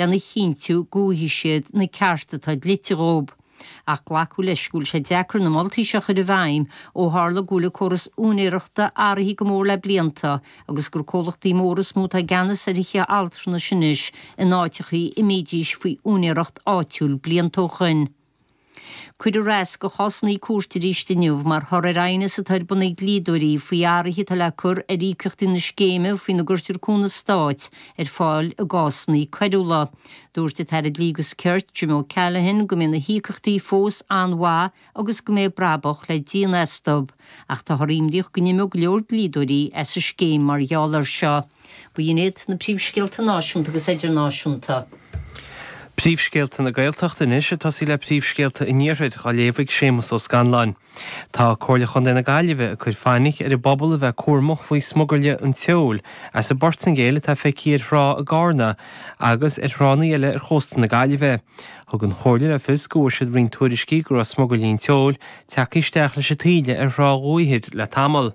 lena chinntiú go bhfaighidh siad na cearta atá dlite dhóibh. Ach glacadh leis go bhfuil sé deacair na moltaí seo a chur i bhfeidhm ó tharla go bhfuil an córas úinéireachta athraithe go mór le blianta agus gur comhlachtaí móra is mó atá i gceannas ar thithe altranais anois in áiteachaí a mbídís faoi úinéireacht áitiúil blianta ó shoin. Cuireadh rasc do chásanna cúirte arís inniu mar thoradh ar aighneas atá ar bun ag dlíodóirí faoi athruithe atá le cur ar íocaíochtaí na scéime faoina gcuirtear cúnamh stáit ar fáil i gcásanna coiriúla. Dúirt an tAire Dlí agus Cirt, Jim O'Callaghan, go mbeidh na híocaíochtaí fós an-mhaith agus go mbeidh brabach le déanamh astu, ach táthar imníoch go n-imeoidh go leor dlíodóirí as an scéim mar gheall air seo. B'in iad na príomhscéalta náisiúnta agus idirnáisiúnta. Príomhscéalta na Gaeltachta anois, ag tosaí le príomhscéalta an Iarthair, á léamh ag Séamus Ó Scanláin. Tá Comhairle Chontae na Gaillimhe ag cur fainic ar an bpobal a bheith cúramach faoi smugairle an tseoil as an bPortaingéil atá feicthe ar thrá i gCarna agus ar thránna eile ar chósta na Gaillimhe. Thug an Chomhairle le fios go bhfuair siad roinnt tuairiscí go raibh smugairlí an tseoil tagtha isteach leis an taoille ar thrá Dhumha Thoir le tamall.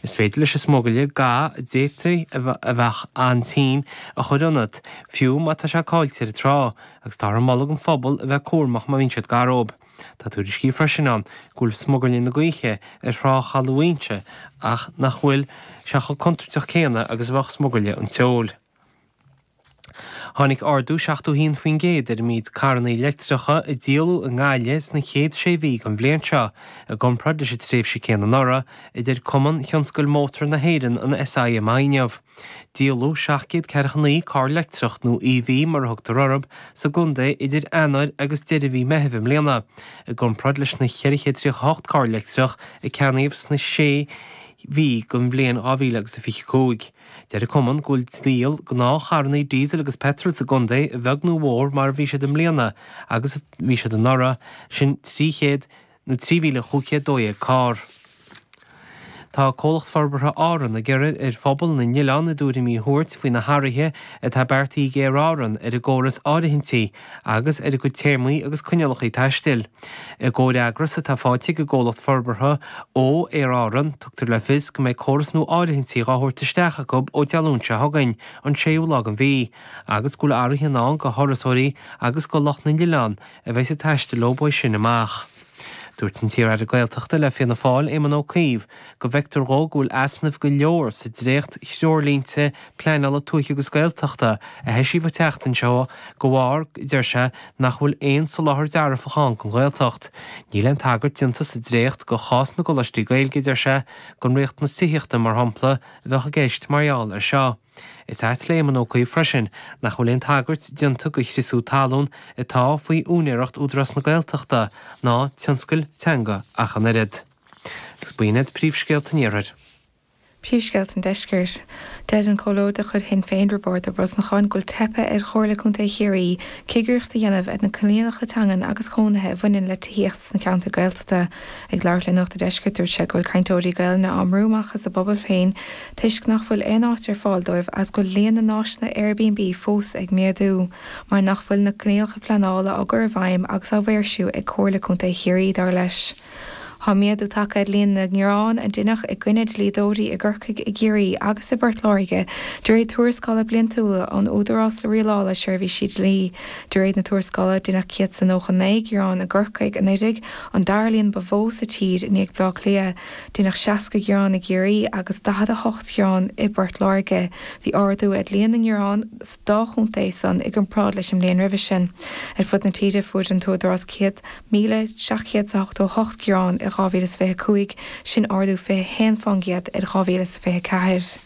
Is féidir leis an smugairle ga a d'fhéadfaí a bheadh an-tinn a chur ionat, fiú má tá sé caillte ar an trá, agus táthar ag moladh don phobal a bheith cúramach má bhíonn siad gar dóibh. Tá tuairiscí freisin ann go bhfuil smugairle na gaoithe ar thrá Chaladh Mhaínse ach nach bhfuil sé chomh contúirteach céanna agus a bheadh smugairle an tseoil. Tháinig ardú 71% ar an méid carranna leictreacha a díoladh i nGaillimh sna chéad sé mhí den bhliain seo, i gcomparáid leis an tréimhse céanna anuraidh, a deir Cumann Thionscal Mótar na hÉireann, an SIMI, inniu. Díoladh 749 carr leictreach, nó EV mar a thugtar orthu, sa gcontae idir Eanáir agus deireadh mhí Meithimh i mbliana, i gcomparáid leis na 438 carr leictreach a ceannaíodh sna sé mhí den bhliain 2025. Deir an cumann go bhfuil díol gnáthcharranna diesel agus peitril sa gcontae a bheag nó a mhór mar a bhí siad i mbliana agus a bhí siad anuraidh, sin 300 nó 3,512 carr. Tá Comhlacht Forbartha Árann ag iarraidh ar phobal na n-oileán a dtuairimí a thabhairt faoi na hathruithe atá beartaithe ag Aer Árann ar a gcóras áirithintí agus ar a gcuid téarmaí agus coinníollacha taistil. I gcomhfhreagras atá faighte ag an gcomhlacht forbartha ó Aer Árann, tugtar le fios go mbeidh córas nua áirithintí dhá thabhairt isteach acu ó Dé Luain seo chugainn, an séú lá den mhí, agus go bhfuil athruithe i ndán go thurasóirí agus go lucht na n-oileán a bheidh ag taisteal leo uaidh sin amach. Dúirt an t-iar-aire Gaeltachta le Fianna Fáil, Éamon Ó Cuív, go bhfeictear dhó go bhfuil easnaimh go leor sa dréacht-threoirlínte pleanála tuaithe agus Gaeltachta a heisíodh an tseachtain seo de bharr, a deir sé, nach bhfuil aon soláthar dearfach ann don Ghaeltacht. Níl aon tagairt déanta sa dréacht do chás na gcoláistí Gaeilge, a deir sé, don riachtanas tithíochta, mar shampla, a bheadh i gceist mar gheall air seo. Is ait le Éamon Ó Cuív freisin nach bhfuil aon tagairt déanta do chriosú talún atá faoi úinéireacht Údarás na Gaeltachta ná tionscail teanga ach an oiread. Agus b'in iad príomhscéalta an Iarthair. Príomhscéalta an Deiscirt. Deir an Comhairleoir de chuid Shinn Féin Roibeárd Ó Brosnacháin go bhfuil teipthe ar Chomhairle Contae Chiarraí cigireacht a dhéanamh ar na coinníollacha teangan agus cónaithe a bhaineann le tithíocht sna ceantair Gaeltachta. Ag labhairt le Nuacht a' Deiscirt dúirt sé go bhfuil cainteoirí Gaelainne á mbrú amach as a bpobail féin toisc nach bhfuil aon áit ar fáil dóibh agus go bhfuil líon na n-áiseanna Airbnb fós ag méadú mar nach bhfuil na coinníollacha pleanála á gcur i bhfeidhm agus á maoirsiú ag Comhairle Contae Chiarraí, dar leis. Tá méadú tagtha ar líon na ngearán a deineadh i gcoinne dlíodóirí i gCorcaigh, i gCiarraí agus i bPort Láirge de réir tuarascála bliantúla ón Údarás Rialála Seirbhísí Dlí. De réir na tuarascála, deineadh 199 gearán i gCorcaigh anuraidh, an dara líon ba mhó sa tír i ndiaidh Bleá Cliath. Deineadh 60 gearán i gCiarraí agus 48 gearán i bPort Láirge. Bhí ardú ar líon na ngearán sa dá chontae san i gcomparáid leis an mbliain roimhe sin. Ar fud na tíre fuair an tÚdarás 100,788 gearán i 2025, sin ardú 21% ar 2024.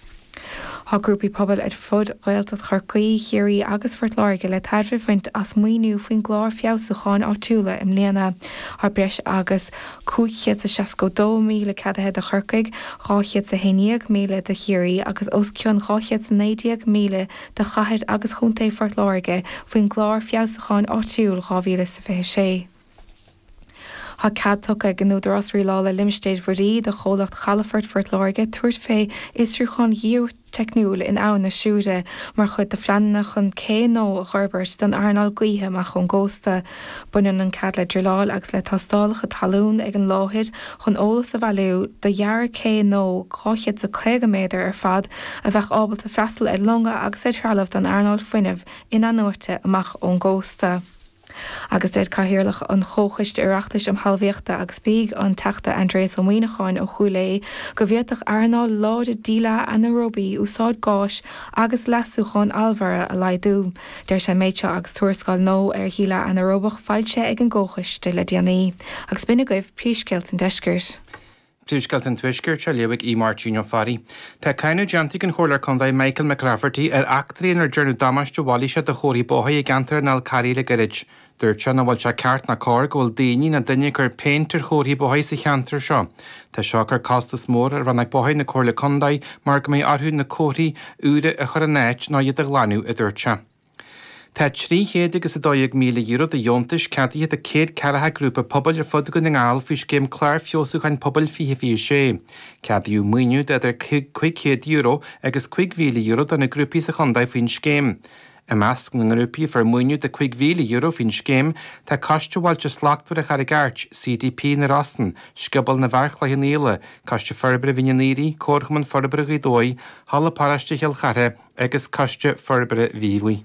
Tá grúpaí pobail ar fud Ghaeltacht Chorcaí, Chiarraí agus Phort Láirge le tairbhe a bhaint as maoiniú faoin gClár Feabhsúcháin Áitiúla i mbliana. Tá breis agus 562,000 ceadaithe do Chorcaigh, 211,000 do Chiarraí agus os cionn 219,000 do chathair agus chontae Phort Láirge faoin gClár Feabhsúcháin Áitiúil 2026. Tá cead tugtha ag an Údarás Rialála Limistéir Mhuirí do chomhlacht Chalafort Phort Láirge tabhairt fé fhiosrúchán. teicniúil in Abhainn na Siúire mar chuid de phleananna chun cé nua a fhorbairt don earnáil gaoithe amach ón gcósta. Baineann an cead le druileáil agus le tástálacha talún ag an láthair chun eolas a bhailiú do dhearadh cé nua 250 méadar ar fad a bheadh ábalta freastal ar longa agus ar threalamh don earnáil fuinnimh in-athnuaite amach ón gcósta. Agus deir Cathaoirleach an Chomhchoiste Oireachtais um Thalmhaíochta agus Bídh, an Teachta Aindrias Ó Muíneacháin ó Chúil Aodha, go bhféadfadh earnáil láidir díleá anaeróbaí úsáid gáis agus leasúcháin allmhaire a laghdú. Deir sé an méid seo agus tuarascáil nua ar dhíleá anaeróbach foilsithe ag an gComhchoiste le déanaí. Agus b'in agaibh príomhscéalta an deiscirt. Príomhscéalta an Tuaiscirt á léamh ag Aodh Máirtín Ó Fearraigh. Tá cáineadh déanta ag an Chomhairleoir Contae Michael McClafferty ar eachtraí inar déanadh damáiste mhailíseach do chomharthaí bóthair i gceantar an Fhál Carraigh le gairid. Dúirt sé nach bhfuil sé ceart ná cóir go bhfuil daoine nó duine ag cur péint ar chomharthaí bóthair sa cheantar seo. Tá seo ag cur costas mór ar Rannóg Bóthair na Comhairle Contae mar go mbeidh orthu na comharthaí úra a chur ina n-áit nó iad a ghlanadh, a dúirt sé. Tá €300 agus €12,000 de dheontais ceadaithe do 140 grúpa pobail ar fud Dhún na nGall faoi scéim Clár Feabhsúcháin Pobail 2026. Ceadaíodh maoiniú de idir €500 agus €5,000 do na grúpaí sa chontae faoin scéim. I measc na ngrúpaí a fuair maoiniú de €5,000 faoin scéim tá Coiste Bhailte Slachtmhara Charraig Airt, CDP na Rosann, Scioból na bhFear Chloich Cheann Fhaola, Coiste Forbartha Mhín an Aoraigh, Comharchumann Forbartha Ghaoth Dobhair, Halla Paróiste Chill Chartha, agus Coiste Forbartha Mhíobhaigh.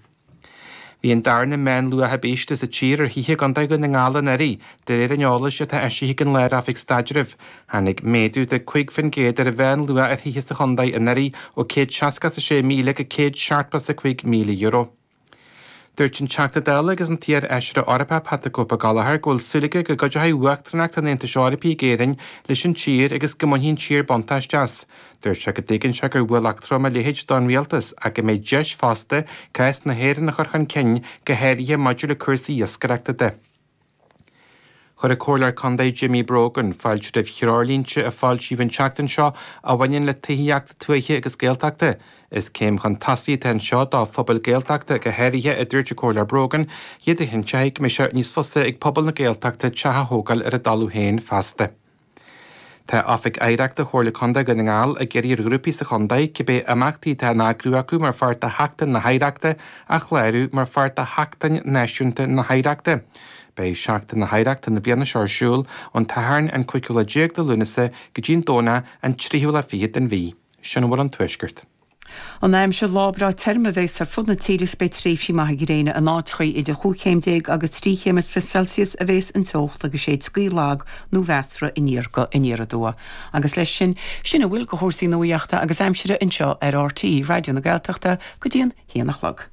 Bhí an darna meánluach ab ísle sa tír ar thithe i gContae Dhún na nGall anuraidh, de réir an eolais atá eisithe ag an Lár-Oifig Staidrimh. Tháinig méadú de 5% ar an mheánluach ar thithe sa chontae anuraidh ó €166,000 go €175,000. Dúirt an Teachta Dála agus an t-iar-fheisire Eorpach Pat the Cope Gallagher go bhfuil súil aige go gcuideoidh Uachtaránacht an Aontais Eorpaigh ag Éirinn leis an tír agus go mbainfidh an tír buntáiste as. Dúirt sé go dtuigeann sé gur ualach trom a leithéid don rialtas ach go mbeidh deis fosta cás na hÉireann a chur chun cinn, go háirithe maidir le cúrsaí iascaireachta de. Chuir an Comhairleoir Contae Jimmy Brogan fáilte roimh threoirlínte a foilsíodh an tseachtain seo a bhaineann le tithíocht tuaithe agus Gaeltachta. Is céim chun tosaigh atá anseo do phobail Gaeltachta go háirithe, a dúirt an Comhairleoir Brogan, iad a chinnteoidh go mbeidh sé níos fusa ag pobal na Gaeltachta teach a thógáil ar a dtalamh féin feasta. Tá Oifig Oidhreachta Chomhairle Contae Dhún na nGall ag iarraidh ar ghrúpaí sa chontae cibé imeachtaí atá á n-eagrú acu mar pháirt de Sheachtain na hOidhreachta a chlárú mar pháirt de Sheachtain Náisiúnta na hOidhreachta. Beidh Seachtain na hOidhreachta na bliana seo ar siúl ón tSatharn an cúigiú lá déag de Lúnasa go dtí an Domhnach an tríú lá fichead den mhí. Sin a bhfuil ón Tuaisceart. An aimsir, Lá breá tirim a bheas ar fud na tíre agus beidh tréimhsí maithe gréine in áiteachaí. Idir chúig chéim déag agus trí chéim is fiche Celsius a bheas an teocht agus séidfidh gaoth lag nó mheasartha aniar go aniar aduaidh. Agus leis sin, sin a bhfuil de chúrsaí nuaíochta agus aimsire anseo ar RTÉ Raidió na Gaeltachta go dtí an haon a chlog.